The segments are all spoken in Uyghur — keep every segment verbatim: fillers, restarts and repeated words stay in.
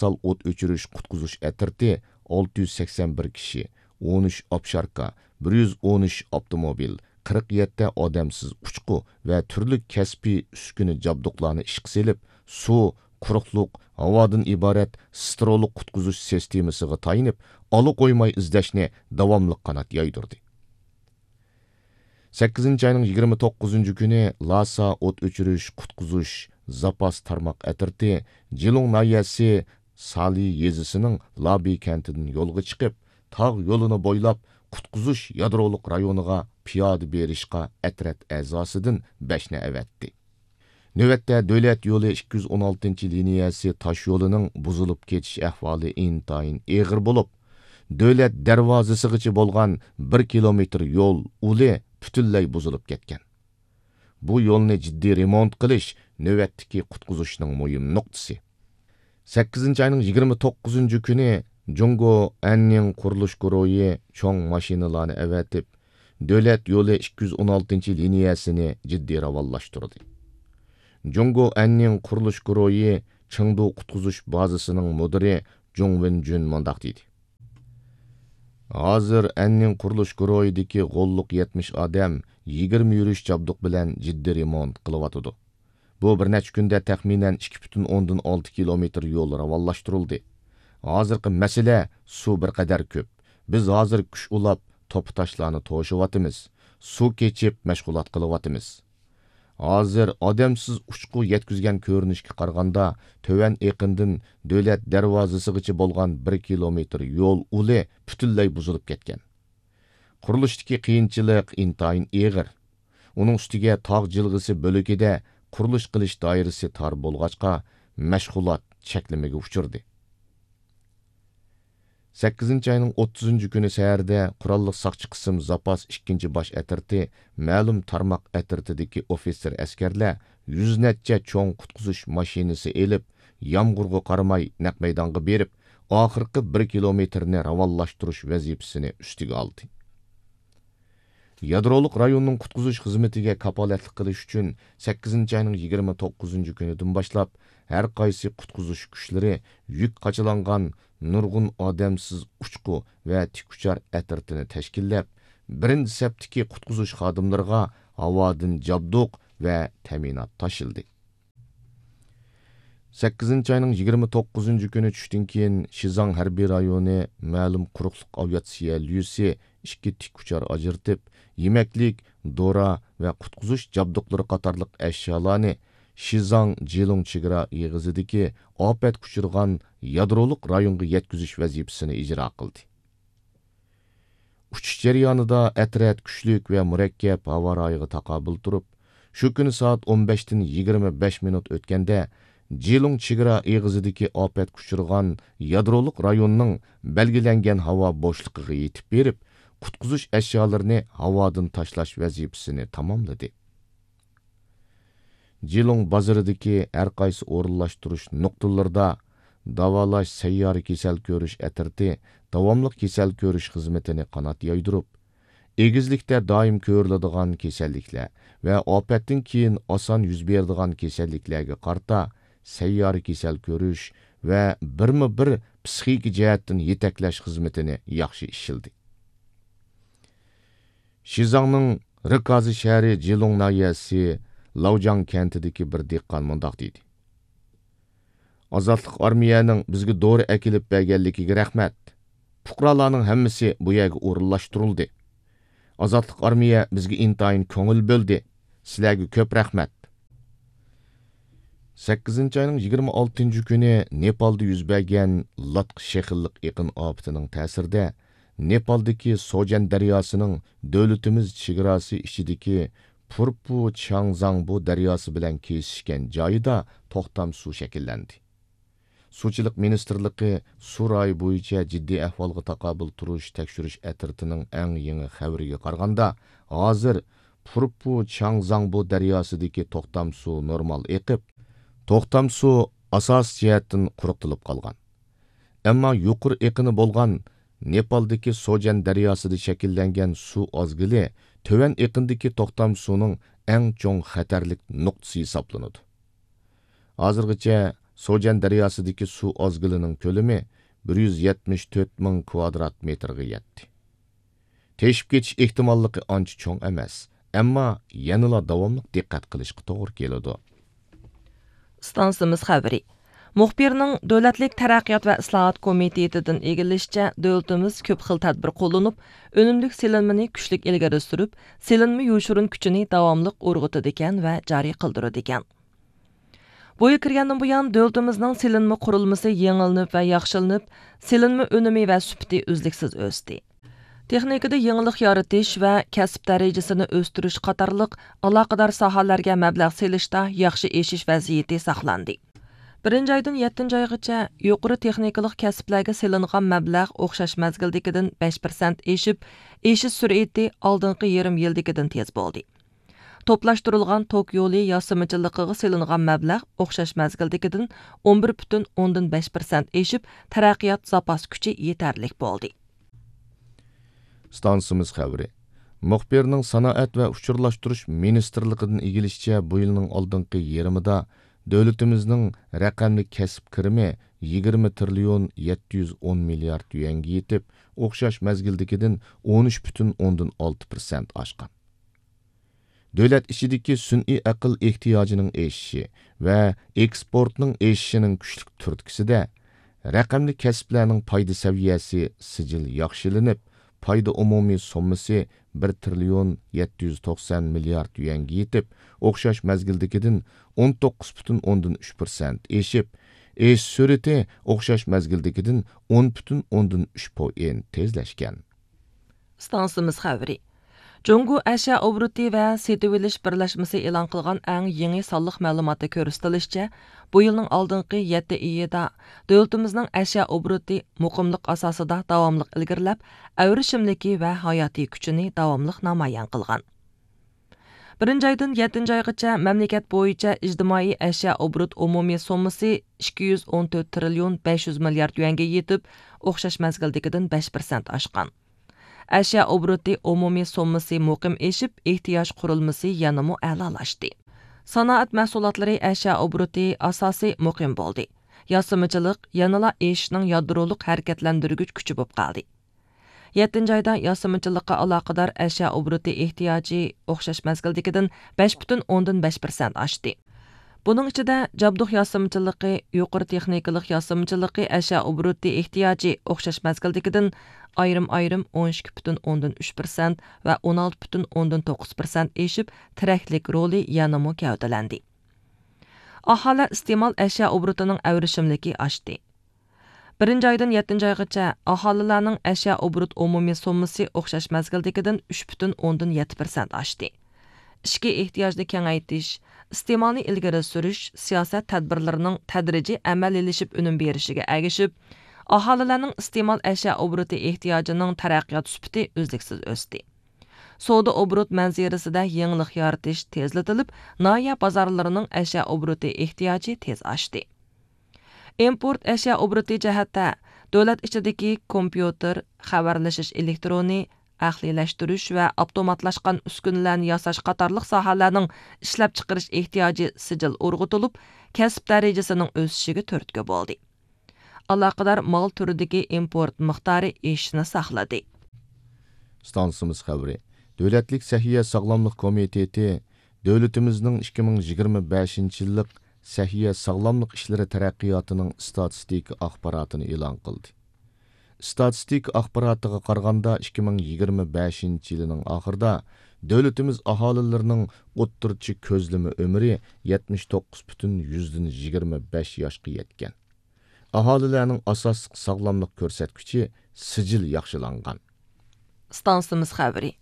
ئۇنىۋېرسال ئوت ئۆچۈرۈش قۇتقۇزۇش ئەترىتى ئالتە يۈز سەكسەن بىر كىشى، ئون ئۈچ ئاپشاركا، بىر يۈز ئون ئۈچ ئاپتوموبىل، قىرىق يەتتە ئادەمسىز ئۇچقۇ ۋە تۈرلۈك كەسپىي ئۈسكۈنە جابدۇقلارنى ئىشقا سېلىپ، سۇ، قۇرۇقلۇق، ھاۋادىن ئىبارەت سترولۇق قۇتقۇزۇش سىستېمىسىغا تايىنىپ، ئالا قويماي ئىزدەشنى داۋاملىق قانات يايدۇردى. سەككىزىنچى ئاينىڭ يىگىرمە توققۇزىنچى كۈنى لاسا ئوت ئۆچۈرۈش، قۇتقۇزۇش، زاپاس تارماق ئەترىتى جىلۇڭ ناھىيەسى سالى يېزىسىنىڭ لابى كەنتىدىن يولغا چىقىپ، تاغ يولىنى بويلاپ، قۇتقۇزۇش يادرولۇق رايونىغا پىيادە بېرىشقا ئەترەت ئەزاسىدىن بەشنى ئەۋەتتى. نۆۋەتتە، دۆلەت يولى ئىككى يۈز ئون ئالتىنچى لىنىيەسى تاش يولىنىڭ بۇزۇلۇپ كېتىش ئەھۋالى ئىنتايىن ئېغىر بولۇپ، دۆلەت دەرۋازىسىغىچە بولغان بىر كىلومېتىر يول ئۇلى پۈتۈنلەي بۇزۇلۇپ كەتكەن. بۇ يولنى جىددىي رېمونت قىلىش نۆۋەتتىكى قۇتقۇزۇشنىڭ مۇھىم نۇقتىسى. سەككىزىنچى ئاينىڭ يىگىرمە توققۇزىنچى كۈنى جۇڭگو ئەننىڭ قۇرۇلۇش گۇرۇھى چوڭ ماشىنىلارنى ئەۋەتىپ، دۆلەت يولى ئىككى يۈز ئون ئالتىنچى لىنىيەسىنى جىددىي راۋانلاشتۇردى. جۇڭگو ئەننىڭ قۇرۇلۇش گۇرۇھى چېڭدۇ قۇتقۇزۇش بازىسىنىڭ مۇدىرى جۇڭ ۋېنجۈن مۇنداق دېدى: ھازىر ئەننىڭ قۇرۇلۇش گۇرۇھىدىكى غوللۇق يەتمىش ئادەم يىگىرمە يۈرۈش جابدۇق بىلەن جىددىي رېمونت قىلىۋاتىدۇ. بۇ بىر نەچچە كۈندە تەخمىنەن ئىككى پۈتۈن ئوندىن ئالتە كىلومېتىر يول راۋانلاشتۇرۇلدى. ھازىرقى مەسىلە سۇ بىر قەدەر كۆپ. بىز ھازىر كۈچ ئۇلاپ، توپا تاشلارنى توشۇۋاتىمىز. سۇ كېچىپ مەشغۇلات قىلىۋاتىمىز. ھازىر ئادەمسىز ئۇچقۇ يەتكۈزگەن كۆرۈنۈشكە قارىغاندا، تۆۋەن ئېقىندىن دۆلەت دەرۋازىسىغىچە بولغان بىر كىلومېتىر يول ئۇلى پۈتۈنلەي بۇزۇلۇپ كەتكەن. قۇرۇلۇشتىكى قىيىنچىلىق ئىنتايىن ئېغىر. ئۇنىڭ ئۈستىگە تاغ جىلغىسى بۆلىكىدە قۇرۇلۇش قىلىش دائىرىسى تار بولغاچقا، مەشغۇلات چەكلىمىگە ئۇچرىدى. سەككىزىنچى ئاينىڭ ئوتتۇزىنچى كۈنى سەھەردە قوراللىق ساقچى قىسىم زاپاس ئىككىنچى باش ئەترىتى مەلۇم تارماق ئەترىتىدىكى ئوفىتسېر ئەسكەرلەر يۈز نەچچە چوڭ قۇتقۇزۇش ماشىنىسى ئېلىپ، يامغۇرغا قارىماي نەق مەيدانغا بېرىپ، ئاخىرقى بىر كىلومېتىرنى راۋانلاشتۇرۇش ۋەزىپىسىنى ئۈستىگە ئالدى. يادرولۇق رايوننىڭ قۇتقۇزۇش خىزمىتىگە كاپالەتلىك قىلىش ئۈچۈن، سەككىزىنچى ئاينىڭ يىگىرمە توققۇزىنچى كۈنىدىن باشلاپ، ھەر قايسى قۇتقۇزۇش كۈچلىرى يۈك قاچىلانغان نۇرغۇن ئادەمسىز ئۇچقۇ ۋە تىكئۇچار ئەترىتىنى تەشكىللەپ، بىرىنچى سەپتىكى قۇتقۇزۇش خادىملىرىغا ھاۋادىن جابدۇق ۋە تەمىنات تاشلىدى. سەككىزىنچى ئاينىڭ يىگىرمە توققۇزىنچى كۈنى چۈشتىن كېيىن، شىزاڭ ھەربىي رايونى مەلۇم قۇرۇقلۇق ئاۋىئاتسىيە ليۇسى ئىككى تىك ئۇچار ئاجرىتىپ، يېمەكلىك، دورا ۋە قۇتقۇزۇش جابدۇقلىرى قاتارلىق ئەشيالارنى شىزاڭ جىلۇڭ چېگرا ئېغىزىدىكى ئاپەتكە ئۇچرىغان يادرولۇق رايونغا يەتكۈزۈش ۋەزىپىسىنى ئىجرا قىلدى. ئۇچۇش جەريانىدا ئەترەت كۈچلۈك ۋە مۇرەككەپ ھاۋا رايىغا تاقابىل تۇرۇپ، شۇ كۈنى سائەت ئون بەشتىن يىگىرمە بەش مىنۇت ئۆتكەندە، جىلۇڭ چېگرا ئېغىزىدىكى ئاپەتكە ئۇچرىغان يادرولۇق رايوننىڭ بەلگىلەنگەن ھاۋا بوشلۇقىغا يېتىپ بېرىپ، قۇتقۇزۇش ئەشيالىرىنى ھاۋادىن تاشلاش ۋەزىپىسىنى تاماملىدى. جىلۇڭ بازىرىدىكى ھەر قايسى ئورۇنلاشتۇرۇش نۇقتىلىرىدا داۋالاش سەييارە كېسەل كۆرۈش ئەترىتى داۋاملىق كېسەل كۆرۈش خىزمىتىنى قانات يايدۇرۇپ، ئېگىزلىكتە دائىم كۆرۈلىدىغان كېسەللىكلەر ۋە ئاپەتتىن كېيىن ئاسان يۈز بېرىدىغان كېسەللىكلەرگە قارىتا سەييارە كېسەل كۆرۈش ۋە بىرمۇ بىر پسىخىكا جەھەتتىن يېتەكلەش خىزمىتىنى ياخشى ئىشلىدى. شىزاڭنىڭ رىكازى شەھىرى جىلۇڭ ناھىيەسى لاۋجاڭ كەنتىدىكى بىر دېھقان مۇنداق دېدى: ئازادلىق ئارمىيەنىڭ بىزگە دورا ئەكېلىپ بەرگەنلىكىگە رەھمەت. پۇقرالارنىڭ ھەممىسى بۇ يەرگە ئورۇنلاشتۇرۇلدى. ئازادلىق ئارمىيە بىزگە ئىنتايىن كۆڭۈل بۆلدى. سىلەرگە كۆپ رەھمەت. سەككىزىنچى ئاينىڭ يىگىرمە ئالتىنچى كۈنى نېپالدا يۈز بەرگەن لاتقا شېخىللىق ئېقىن ئاپىتىنىڭ تەسىرىدە، نېپالدىكى سوجەن دەرياسىنىڭ دۆلىتىمىز چېگراسى ئىچىدىكى پۇرپۇ چياڭزاڭبۇ دەرياسى بىلەن كېسىشكەن جايىدا توختام سۇ شەكىللەندى. سۇچىلىق مىنىستىرلىقى سۇ رايى بويىچە جىددىي ئەھۋالغا تاقابىل تۇرۇش تەكشۈرۈش ئەترىتىنىڭ ئەڭ يېڭى خەۋىرىگە قارىغاندا، ھازىر پۇرپۇ چياڭزاڭبۇ دەرياسىدىكى توختام سۇ نورمال ئېقىپ، توختام سۇ ئاساسىي جەھەتتىن قۇرۇقتۇلۇپ قالغان. ئەمما يۇقىرى ئېقىنى بولغان نېپالدىكى سوجەن دەرياسىدا شەكىللەنگەن سۇ ئازگىلى تۆۋەن ئېقىندىكى توختام سۇنىڭ ئەڭ چوڭ خەتەرلىك نۇقتىسى ھېسابلىنىدۇ. ھازىرغىچە سوجەن دەرياسىدىكى سۇ ئازگىلىنىڭ كۆلىمى بىر يۈز يەتمىش تۆت مىڭ كۋادرات مېتىرغا يەتتى. تېشىپ كېتىش ئېھتىماللىقى ئانچە چوڭ ئەمەس، ئەمما يەنىلا داۋاملىق دىققەت قىلىشقا توغرا كېلىدۇ. ئىستانسىمىز خەۋىرى. مۇخبىرنىڭ دۆلەتلىك تەرەققىيات ۋە ئىسلاھات كومىتېتىدىن ئىگىلىشىچە، دۆلىتىمىز كۆپ خىل تەدبىر قوللىنىپ، ئۈنۈملۈك سېلىنمىنى كۈچلۈك ئىلگىرى سۈرۈپ، سېلىنما يوشۇرۇن كۈچىنى داۋاملىق ئۇرغۇتىدىكەن ۋە جارى قىلدۇرىدىكەن. بۇ يىل كىرگەندىن بۇيان، دۆلىتىمىزنىڭ سېلىنما قۇرۇلمىسى يېڭىلىنىپ ۋە ياخشىلىنىپ، سېلىنما ئۈنۈمى ۋە سۈپىتى ئۈزلۈكسىز ئۆستى. تېخنىكىدا يېڭىلىق يارىتىش ۋە كەسىپ دەرىجىسىنى ئۆستۈرۈش قاتارلىق ئالاقىدار ساھەلەرگە مەبلەغ سېلىشتا ياخشى ئېشىش ۋەزىيىتى ساقلاندى. بىرىنچى ئايدىن يەتتىنچى ئايغىچە يۇقىرى تېخنىكىلىق كەسىپلەرگە سېلىنغان مەبلەغ ئوخشاش مەزگىلدىكىدىن بەش پىرسەنت ئېشىپ، ئېشىش سۈرئىتى ئالدىنقى يېرىم يىلدىكىدىن تېز بولدى. توپلاشتۇرۇلغان توك يولى ياسىمىچىلىقىغا سېلىنغان مەبلەغ ئوخشاش مەزگىلدىكىدىن ئون بىر پۈتۈن ئوندىن بەش پىرسەنت ئېشىپ، تەرەققىيات زاپاس كۈچى يېتەرلىك بولدى. ئىستانسىمىز خەۋىرى. مۇخبىرنىڭ سانائەت ۋە ئۇچۇرلاشتۇرۇش مىنىستىرلىقىدىن ئىگىلىشىچە، بۇ يىلنىڭ ئالدىنقى يېرىمىدا دۆلىتىمىزنىڭ رەقەملىك كەسىپ كىرىمى يىگىرمە تىرىليون يەتتە يۈز ئون مىليارد يۈەنگە يېتىپ، ئوخشاش مەزگىلدىكىدىن ئون ئۈچ پۈتۈن ئوندىن ئالتە پىرسەنت ئاشقان. دۆلەت ئىچىدىكى سۈنئىي ئەقىل ئېھتىياجىنىڭ ئېشىشى ۋە ئېكسپورتنىڭ ئېشىشىنىڭ كۈچلۈك تۈرتكىسىدە، رەقەملىك كەسىپلەرنىڭ پايدا سەۋىيەسى سىجىل ياخشىلىنىپ، پايدا ئومۇمىي سوممىسى بىر تىرىليون يەتتە يۈز توقسان مىليارد يۈەنگە يېتىپ، ئوخشاش مەزگىلدىكىدىن ئون توققۇز پۈتۈن ئوندىن ئۈچ پىرسەنت ئېشىپ، ئېشىش سۈرئىتى ئوخشاش مەزگىلدىكىدىن ئون پۈتۈن ئوندىن ئۈچ پوئېنت تېزلەشكەن. ئىستانسىمىز خەۋىرى. جۇڭگو ئەشيا ئوبوروتى ۋە سېتىۋېلىش بىرلەشمىسى ئېلان قىلغان ئەڭ يېڭى سانلىق مەلۇماتتا كۆرسىتىلىشىچە، بۇ يىلنىڭ ئالدىنقى يەتتە ئېيىدا دۆلىتىمىزنىڭ ئەشيا ئوبوروتى مۇقىملىق ئاساسىدا داۋاملىق ئىلگىرىلەپ، ئەۋرىشىملىكى ۋە ھاياتىي كۈچىنى داۋاملىق نامايان قىلغان. بىرىنچى ئايدىن يەتتىنچى ئايغىچە مەملىكەت بويىچە ئىجتىمائىي ئەشيا ئوبوروت ئومۇمىي سوممىسى ئىككى يۈز ئون تۆت تىرىليون بەش يۈز مىليارد يۈەنگە يېتىپ، ئوخشاش مەزگىلدىكىدىن بەش پىرسەنت ئاشقان. ئەشيا ئوبوروتى ئومۇمىي سوممىسى مۇقىم ئېشىپ، ئېھتىياج قۇرۇلمىسى يەنىمۇ ئەلالاشتى. سانائەت مەھسۇلاتلىرى ئەشيا ئوبوروتى ئاساسى مۇقىم بولدى. ياسىمىچىلىق يەنىلا ئېشىشنىڭ يادرولۇق ھەرىكەتلەندۈرگۈچ كۈچى بولۇپ قالدى. يەتتىنچى ئايدا ياسىمىچىلىققا ئالاقىدار ئەشيا ئوبوروتى ئېھتىياجى ئوخشاش مەزگىلدىكىدىن بەش پۈتۈن ئوندىن بەش پىرسەنت ئاشتى. بۇنىڭ ئىچىدە جابدۇق ياسىمىچىلىقى، يۇقىرى تېخنىكىلىق ياسىمىچىلىقى ئەشيا ئوبوروتى ئېھتىياجى ئوخشاش مەزگىلدىكىدىن ئايرىم-ئايرىم ئون ئىككى پۈتۈن ئوندىن ئۈچ پىرسەنت ۋە ئون ئالتە پۈتۈن ئوندىن توققۇز پىرسەنت ئېشىپ، تىرەكلىك رولى يەنىمۇ گەۋدىلەندى. ئاھالە ئىستېمال ئەشيا ئوبوروتىنىڭ ئەۋرىشىملىكى ئاشتى. بىرىنچى ئايدىن يەتتىنچى ئايغىچە ئاھالىلەرنىڭ ئەشيا ئوبوروت ئومۇمىي سوممىسى ئوخشاش مەزگىلدىكىدىن ئۈچ پۈتۈن ئوندىن يەتتە پىرسەنت ئاشتى. ئىچكى ئېھتىياجنى كېڭەيتىش، ئىستېمالنى ئىلگىرى سۈرۈش سىياسەت تەدبىرلىرىنىڭ تەدرىجىي ئەمەلىيلىشىپ ئۈنۈم بېرىشىگە ئەگىشىپ، ئاھالىلەرنىڭ ئىستېمال ئەشيا ئوبوروتى ئېھتىياجىنىڭ تەرەققىيات سۈپىتى ئۈزلۈكسىز ئۆستى. سودا ئوبوروت مەنزىرىسىدە يېڭىلىق يارىتىش تېزلىتىلىپ، ناھىيە بازارلىرىنىڭ ئەشيا ئوبوروتى ئېھتىياجى تېز ئاشتى. ئىمپورت ئەشيا ئوبوروتى جەھەتتە، دۆلەت ئىچىدىكى كومپيۇتېر، خەۋەرلىشىش ئېلېكترونى، ئەقلىيلەشتۈرۈش ۋە ئاپتوماتلاشقان ئۈسكۈنىلەرنى ياساش قاتارلىق ساھەلەرنىڭ ئىشلەپچىقىرىش ئېھتىياجى سىجىل ئۇرغۇتۇلۇپ، كەسىپ دەرىجىسىنىڭ ئۆسۈشىگە تۈرتكە بولدى. ئالاقىدار مال تۈرىدىكى ئىمپورت مىقدارى ئېشىشنى ساقلىدى. ئىستانسىمىز خەۋىرى. دۆلەتلىك سەھىيە ساغلاملىق كومىتېتى دۆلىتىمىزنىڭ ئىككى مىڭ يىگىرمە بەشىنچى يىللىق سەھىيە ساغلاملىق ئىشلىرى تەرەققىياتىنىڭ ئىستاتىستىكا ئاخباراتىنى ئېلان قىلدى. ئىستاتىستىكا ئاخباراتىغا قارىغاندا، ئىككى مىڭ يىگىرمە بەشىنچى يىلىنىڭ ئاخىرىدا دۆلىتىمىز ئاھالىلىرىنىڭ ئوتتۇرىچە كۆزلىمە ئۆمرى يەتمىش توققۇز پۈتۈن يۈزدىن يىگىرمە بەش ياشقا يەتكەن. ئاھالىلەرنىڭ ئاساسلىق ساغلاملىق كۆرسەتكۈچى سىجىل ياخشىلانغان. ئىستانسىمىز خەۋىرى.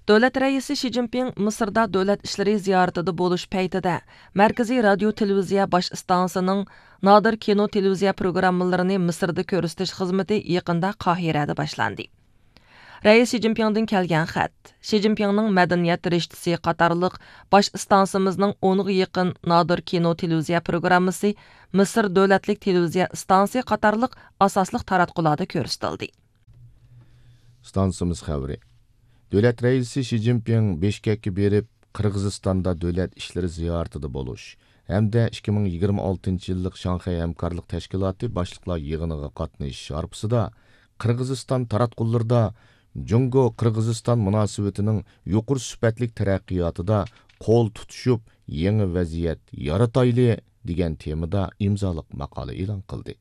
دۆلەت رەئىسى شى جىنپىڭ مىسىردا دۆلەت ئىشلىرى زىيارىتىدە بولۇش پەيتىدە، مەركىزىي رادىيو تېلېۋىزىيە باش ئىستانسىسىنىڭ نادىر كىنو تېلېۋىزىيە پروگراممىلىرىنى مىسىردا كۆرسىتىش خىزمىتى يېقىندا قاھىرەدە باشلاندى. رەئىس شى جىنپىڭدىن كەلگەن خەت، شى جىنپىڭنىڭ مەدەنىيەت رىشتىسى قاتارلىق باش ئىستانسىمىزنىڭ ئونغا يېقىن نادىر كىنو تېلېۋىزىيە پروگراممىسى، مىسىر دۆلەتلىك تېلېۋىزىيە ئىستانسىسى قاتارلىق ئاساسلىق تاراتقۇلاردا كۆرسىتىلدى. ئىستانسىمىز خەۋىرى. دۆلەت رەئىسى شى جىنپىڭ بىشكەككە بېرىپ، قىرغىزىستاندا دۆلەت ئىشلىرى زىيارىتىدە بولۇش، ھەمدە ئىككى مىڭ يىگىرمە ئالتىنچى يىللىق شاڭخەي ھەمكارلىق تەشكىلاتى باشلىقلار يىغىنىغا قاتنىشىش ھارپىسىدا قىرغىزىستان تاراتقۇلىرىدا جۇڭگو قىرغىزىستان مۇناسىۋىتىنىڭ يۇقىرى سۈپەتلىك تەرەققىياتىدا قول تۇتۇشۇپ، يېڭى ۋەزىيەت يارىتايلى دېگەن تېمىدا ئىمزالىق ماقالە ئېلان قىلدى.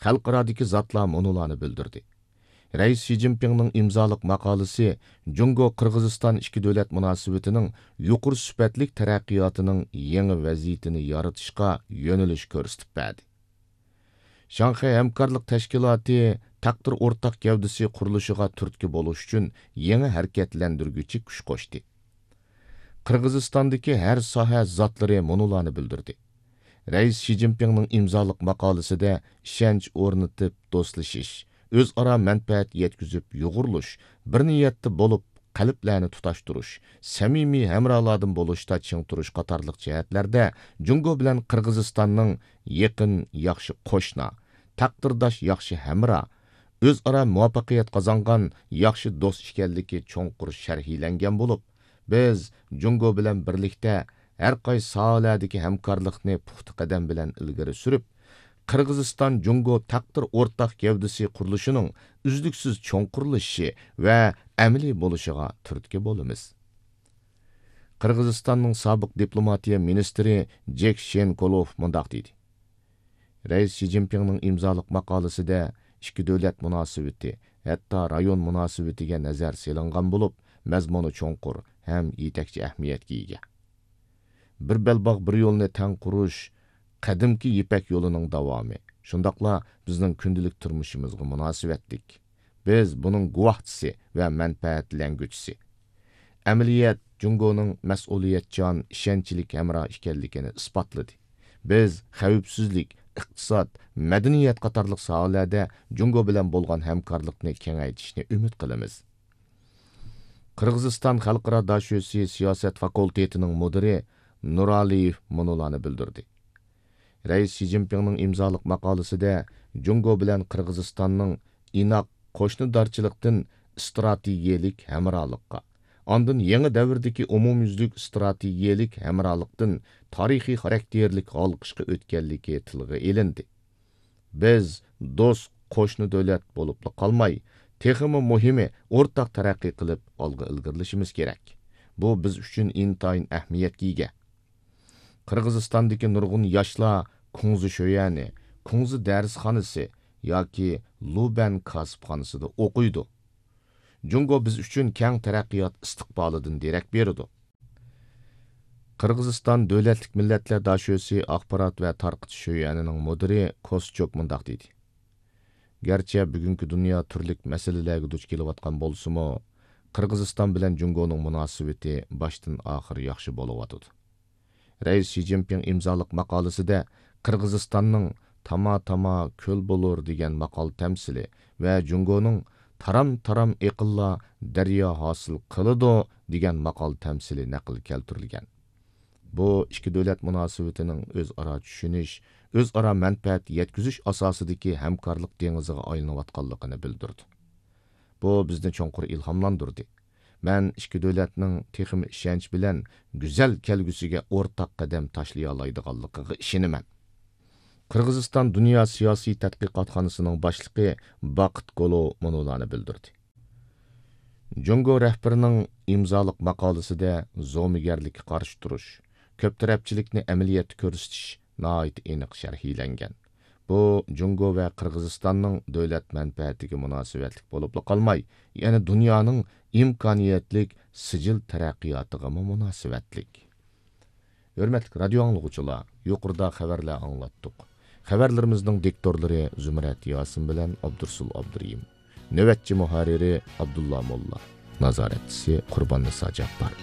خەلقئارادىكى زاتلار مۇنۇلارنى بىلدۈردى. رەئىس شى جىنپىڭنىڭ ئىمزالىق ماقالىسى جۇڭگو قىرغىزىستان ئىككى دۆلەت مۇناسىۋىتىنىڭ يۇقىرى سۈپەتلىك تەرەققىياتىنىڭ يېڭى ۋەزىيىتىنى يارىتىشقا يۆنىلىش كۆرسىتىپ بەردى. شاڭخەي ھەمكارلىق تەشكىلاتى تەقدىر ئورتاق گەۋدىسى قۇرۇلۇشىغا تۈرتكە بولۇش ئۈچۈن يېڭى ھەرىكەتلەندۈرگۈچى كۈچ قوشتى. قىرغىزىستاندىكى ھەر ساھە زاتلىرى مۇنۇلارنى بىلدۈردى. رەئىس شى جىنپىڭنىڭ ئىمزالىق ماقالىسىدە ئىشەنچ ئورنىتىپ دوستلىشىش، ئۆزئارا مەنپەئەت يەتكۈزۈپ يۇغۇرۇلۇش، بىر نىيەتتە بولۇپ قەلبلەرنى تۇتاشتۇرۇش، سەمىمىي ھەمراھلاردىن بولۇشتا چىڭ تۇرۇش قاتارلىق جەھەتلەردە جۇڭگو بىلەن قىرغىزىستاننىڭ يېقىن ياخشى قوشنا، تەقدىرداش ياخشى ھەمراھ، ئۆزئارا مۇۋەپپەقىيەت قازانغان ياخشى دوست ئىكەنلىكى چوڭقۇر شەرھلەنگەن بولۇپ، بىز جۇڭگو بىلەن بىرلىكتە ھەر قايسى ساھەلەردىكى ھەمكارلىقنى پۇختا قەدەم بىلەن ئىلگىرى سۈرۈپ، قىرغىزىستان جۇڭگو تەقدىر ئورتاق گەۋدىسى قۇرۇلۇشىنىڭ ئۈزلۈكسىز چوڭقۇرلىشىشى ۋە ئەمەلىي بولۇشىغا تۈرتكە بولىمىز. قىرغىزىستاننىڭ سابىق دىپلوماتىيە مىنىستىرى جېك شېنكولوف مۇنداق دېدى: رەئىس شى جىنپىڭنىڭ ئىمزالىق ماقالىسىدە ئىككى دۆلەت مۇناسىۋىتى، ھەتتا رايون مۇناسىۋىتىگە نەزەر سېلىنغان بولۇپ، مەزمۇنى چوڭقۇر ھەم يېتەكچى ئەھمىيەتكە ئىگە. بىر بەلباغ، بىر يولنى تەڭ قۇرۇش قەدىمكى يىپەك يولىنىڭ داۋامى، شۇنداقلا بىزنىڭ كۈندىلىك تۇرمۇشىمىزغا مۇناسىۋەتلىك. بىز بۇنىڭ گۇۋاھچىسى ۋە مەنپەئەتلەنگۈچىسى. ئەمەلىيەت جۇڭگونىڭ مەسئۇلىيەتچان، ئىشەنچلىك ھەمراھ ئىكەنلىكىنى ئىسپاتلىدى. بىز خەۋپسىزلىك، ئىقتىساد، مەدەنىيەت قاتارلىق ساھەلەردە جۇڭگو بىلەن بولغان ھەمكارلىقنى كېڭەيتىشنى ئۈمىد قىلىمىز. قىرغىزىستان خەلقئارا داشۆسى سىياسەت فاكۇلتېتىنىڭ مۇدىرى نۇرئالىيېۋ مۇنۇلارنى بىلدۈردى. رەئىس شى جىنپىڭنىڭ ئىمزالىق ماقالىسىدە جۇڭگو بىلەن قىرغىزىستاننىڭ ئىناق قوشنىدارچىلىقتىن ئىستراتېگىيەلىك ھەمراھلىققا، ئاندىن يېڭى دەۋردىكى ئومۇميۈزلۈك ئىستراتېگىيەلىك ھەمراھلىقتىن تارىخىي خاراكتېرلىك ھالقىشقا ئۆتكەنلىكى تىلغا ئېلىندى. بىز دوست قوشنا دۆلەت بولۇپلا قالماي، تېخىمۇ مۇھىمى، ئورتاق تەرەققىي قىلىپ ئالغا ئىلگىرىلىشىمىز كېرەك. بۇ بىز ئۈچۈن ئىنتايىن ئەھمىيەتكە ئىگە. قىرغىزىستاندىكى نۇرغۇن ياشلار كۇڭزى شۆيەنى، كۇڭزى دەرسخانىسى ياكى لۇبەن كاسىپخانىسىدا ئوقۇيدۇ. جۇڭگو بىز ئۈچۈن كەڭ تەرەققىيات ئىستىقبالىدىن دېرەك بېرىدۇ. قىرغىزىستان دۆلەتلىك مىللەتلەر داشۆسى ئاخبارات ۋە تارقىتىش شۆيەنىنىڭ مۇدىرى كوسچوك مۇنداق دېدى: گەرچە بۈگۈنكى دۇنيا تۈرلۈك مەسىلىلەرگە دۇچ كېلىۋاتقان بولسىمۇ، قىرغىزىستان بىلەن جۇڭگونىڭ مۇناسىۋىتى باشتىن ئاخىر ياخشى بولۇۋاتىدۇ. رەئىس شى جىنپىڭ ئىمزالىق ماقالىسىدە قىرغىزىستاننىڭ تاما تاما كۆل بولۇر دېگەن ماقال تەمسىلى ۋە جۇڭگونىڭ تارام تارام ئېقىنلار دەريا ھاسىل قىلىدۇ دېگەن ماقال تەمسىلى نەقىل كەلتۈرۈلگەن. بۇ ئىككى دۆلەت مۇناسىۋىتىنىڭ ئۆزئارا چۈشىنىش، ئۆزئارا مەنپەئەت يەتكۈزۈش ئاساسىدىكى ھەمكارلىق دېڭىزىغا ئايلىنىۋاتقانلىقىنى بىلدۈردى. بۇ بىزنى چوڭقۇر ئىلھاملاندۇردى. مەن ئىككى دۆلەتنىڭ تېخىمۇ ئىشەنچ بىلەن گۈزەل كەلگۈسىگە ئورتاق قەدەم تاشلىيالايدىغانلىقىغا ئىشىنىمەن. قىرغىزىستان دۇنيا سىياسىي تەتقىقاتخانىسىنىڭ باشلىقى باقىت گولو مۇنۇلارنى بىلدۈردى: جۇڭگو رەھبىرىنىڭ ئىمزالىق ماقالىسىدە زومىگەرلىككە قارشى تۇرۇش، كۆپ تەرەپچىلىكنى ئەمەلىيەتتە كۆرسىتىش ناھايىتى ئېنىق شەرھلەنگەن. بۇ جۇڭگو ۋە قىرغىزىستاننىڭ دۆلەت مەنپەئەتىگە مۇناسىۋەتلىك بولۇپلا قالماي، يەنە دۇنيانىڭ ئىمكانىيەتلىك سىجىل تەرەققىياتىغىمۇ مۇناسىۋەتلىك. ھۆرمەتلىك رادىيو ئاڭلىغۇچىلار، يۇقىرىدا خەۋەرلەر ئاڭلاتتۇق. خەۋەرلىرىمىزنىڭ دىكتورلىرى زۇمرەت ياسىن بىلەن ئابدۇرسۇل ئابدۇرېھىم. نۆۋەتچى مۇھەررىرى ئابدۇللا موللا. نازارەتچىسى قۇرباننىسا جاپپار.